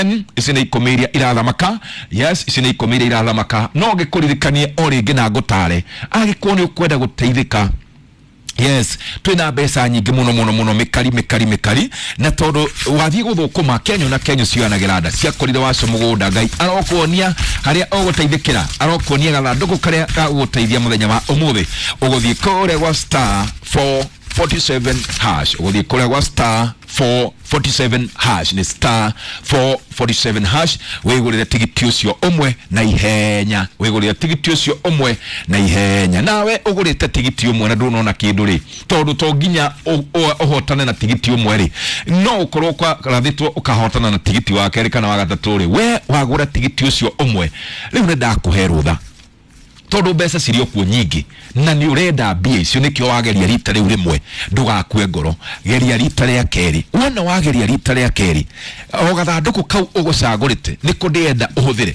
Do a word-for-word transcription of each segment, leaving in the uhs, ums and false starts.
ten ici nĩ ikũmi iria irathamaka. Yes, ici nĩ ikũmi iria irathamaka. No ngĩkũririkanie o rĩngĩ na ngũtare angĩkorwo nĩ ũkwenda gũteithĩka. Yes, twina mbeca nyingĩ mũno mũno mũno, mĩkari mĩkari mĩkari, na tondũ wathiĩ gũthũkũma kenyo na kenyo cioyanagĩra nda ciakorire wacio mũgũnda. Ngai arokuonia harĩa ũgũteithĩkĩra, arokuonia gathandũkũ karĩa gagũgũteithia mũthenya wa ũmũthĩ. Ũgũthiĩ kũrĩa gwa star four forty-seven hash, ũgũthiĩ kũrĩa gwa star four forty-seven hash, nĩ star four forty-seven hash, wĩgũrĩre tigiti ũcio ũmwe na ihenya, wĩgũrĩre tigiti ũcio ũmwe na ihenya. Nawe ũgũrĩte tigiti ũmwe na ndũnona kĩndũ rĩ, tondũ to nginya ũhotane na tigiti ũmwe rĩ, no ũkorwo ũkarathĩtwo ũkahotana na tigiti wa kerĩ kana wa gatatũ rĩ, we wagũra tigiti ũcio ũmwe rĩu nĩ ndakũhe rũtha, tondũ mbeca cirĩ o kuo nyingĩ na nĩ ũrenda mbia icio, nĩkĩo wageria rita rĩu rĩmwe, ndũgakue ngoro, geria rita rĩa kerĩ. Wona wageria rita rĩa kerĩ, o gathandũkũ kau ũgũcagũrĩte nĩko ndĩrenda ũhũthĩre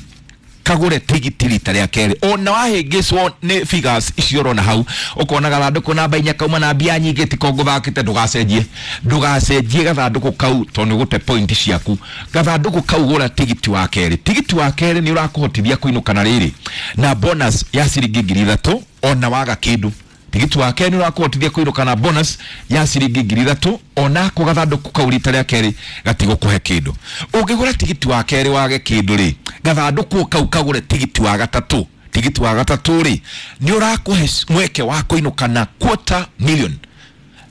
kagũre tigiti rita rĩa kerĩ. Ona wahĩngĩcwo nĩ figures icio ũrona hau, ũkona gathandũkũ namba inya kauma na mbia nyingĩ tiko ngũthakĩte, ndũgacenjie, ndũgacenjie gathandũkũ kau tondũ nĩ ũgũte point ciaku. Gathandũkũ kau gũra tigiti wa kerĩ. Tigiti wa kerĩ nĩ ũrakũhotithia kũinũka na rĩrĩ na bonus ya ciringi ngiri ithatũ ona waga kĩndũ. Tigiti wa kerĩ nĩ ũrakũhotithia kũinũka na bonus ya ciringi ngiri ithatũ onako gathandũkũ kau rita rĩa kerĩ gatigũkũhe kĩndũ. Ũngĩgũra tigiti wa kerĩ wage kĩndũ rĩ, gathandũkũ kau kagũre tigiti wa gatatũ. Tigiti wa gatatũ rĩ nĩ ũrakũhe mweke wa kũinũka na quarter million.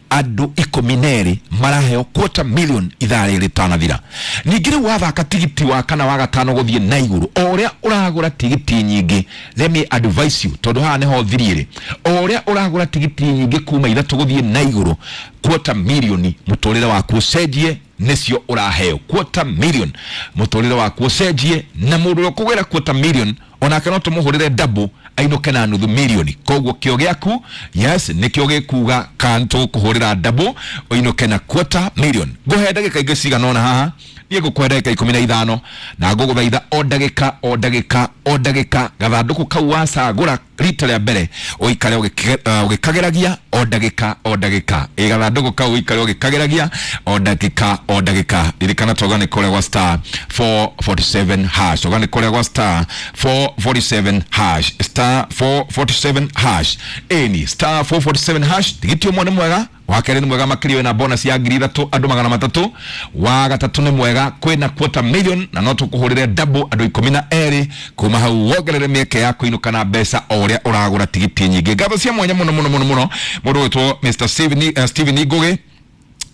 Andũ ikũmi na erĩ maraheo quarter million ithaa rĩrĩ rĩtanathira. Ningĩ rĩu wathaka tigiti wa kana wa gatano gũthiĩ na igũrũ, o ũrĩa ũragũra tigiti nyingĩ, let me advise you, tondũ haha nĩho thirie rĩ, o ũrĩa ũragũra tigiti nyingĩ kuma ithatũ gũthiĩ na igũrũ, quarter million mũtũrĩre waku ũcenjie nĩcio ũraheo. Quarter million mũtũrĩre waku ũcenjie, na mũndũ ũrĩa ũkũgĩra quarter million onake no tũmũhũrĩre double ainũke na nuthu milioni. Koguo kĩo gĩaku, yes, nĩkĩo gĩkuga kana tũkũhũrĩra double ũinũke na quarter million. Ngũhe ndagĩka ingĩ cigana ũna haha, niĩ ngũkũhe ndagĩka ikũmi na ithano na ngũgũthaitha o ndagĩka o ndagĩka o ndagĩka gathandũkũ kau wacagũra rita rĩa mbere ũikare ũgĩkageragia o ndagĩka o ndagĩka. Ĩ gathandũkũ kau ũikare ũgĩkageragia o ndagĩka o ndagĩka. Ririkana toga nĩ kũrĩa gwa star four forty-seven hash, toga nĩ kũrĩa gwa star four forty-seven hash, star four forty-seven hash, ĩni star four forty-seven hash. Tigiti ũmwe nĩ mwega, wa kerĩ nĩ mwega makĩria wĩna bonus ya ngiri ithatũ andũ magana matatũ, wa gatatũ nĩ mwega kwĩna quarter million na no tũkũhũrĩre double andũ ikũmi na erĩ kuma hau wongerere mĩeke ya kũinũka na mbeca o ũrĩa ũragũra tigiti nyingĩ. Ngatho cia mwanya mũno mũno mũno mũno mũndũ ũgwĩtwo Mister Steven, uh, Steven Ngugi,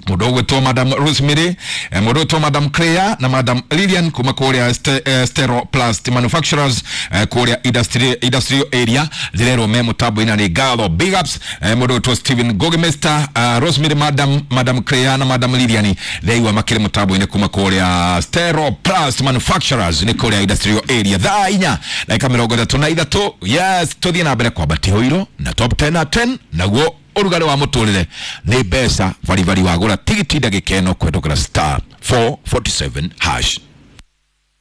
mũndũ ũgwĩtwo Madam Rosemary, mũndũ ũgwĩtwo Madam Claire na Madam Lilian kuma kũrĩa Ste, uh, Stero Plast Manufacturers uh, kũrĩa industry, industrial area ndĩrerwo me mũtambo-inĩ nĩ ngatho big ups. Mũndũ ũgwĩtwo Steven Ngugi, Mister uh, Rosemary, Madam, Madam Claire na Madam Lilian ndĩraigua makĩrĩ mũtambo-inĩ kuma kũrĩa Stero Plast Manufacturers nĩ kũrĩa industrial area. Thaa inya ndagĩka mĩrongo ĩtatũ na ithatũ. Yes, tũthiĩ na mbere kwambatia ũiro na top ten na ten, naguo ũrugarĩ wa mũtũrĩre nĩ mbeca baribari wagũra tigiti ndagĩka ĩno kũhetũkĩra star four forty-seven hash.